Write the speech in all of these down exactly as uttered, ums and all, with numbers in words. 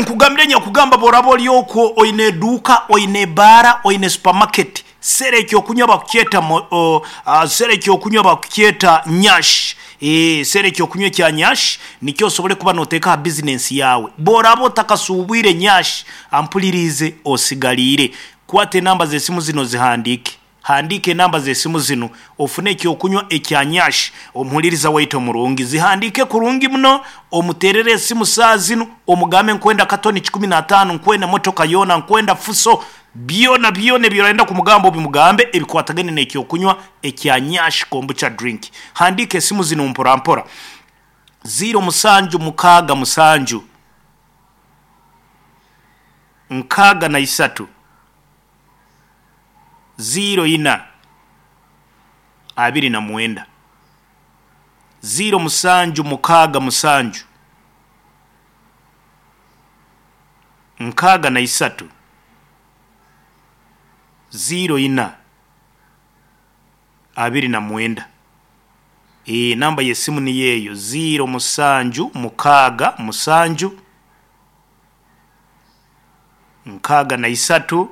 Nkugambire nyakugamba, bworaba ori okwo oine eduuka, oine ebaara, oine supermarket, sera ekyokunywa bakukyeta mo- o, ah, sera ekyokunywa bakukyeta Nyash. Eh, sera ekyokunywa ekya Nyash nikyo osobole kuba noteeka aha bizinesi yaawe. Bworaba otakasuubwire Nyash, ampuliriize, osigaliire. Kwata enamba z'esimu zino zihandiike. Handiika enamba z'esimu zinu ofune ekyokunywa ekya Nyash. Omuhuliriza waitu omurungi, zihandiike kurungi muno, omuteerere esimu saaha zinu, omugambe nkwenda katoni kikumi na ataano, nkwenda emotoka yoona, nkwenda fuso, byona byona ebi orenda kumugamba obimugambe ebikwatagaine n'ekyokunywa ekya Nyash Kombucha drink. Handiika esimu zinu mpora mpora. Ziro musanju mukaaga musanju nkaaga na isatu ziro ina abiri na mwenda. Ziro musanju mukaaga musanju nkaaga na isatu ziro ina abiri na mwenda. E, namba y'esimu niyo eyo, ziro musanju mukaaga musanju nkaaga na isatu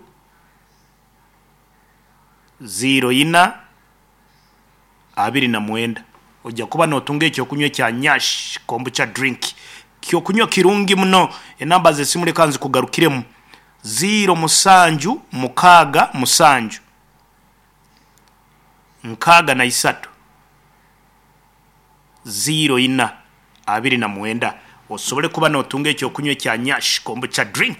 ziro ina abiri na mwenda. Ojja kuba notunga ekyokunywa ekya Nyash Kombucha drink, kyokunywa kirungi muno. Enamba z'esimu leka nzikugarukiremu: ziro musanju mukaaga musanju nkaaga na isatu ziro ina abiri na mwenda, osobole kuba notunga ekyokunywa ekya Nyash Kombucha drink.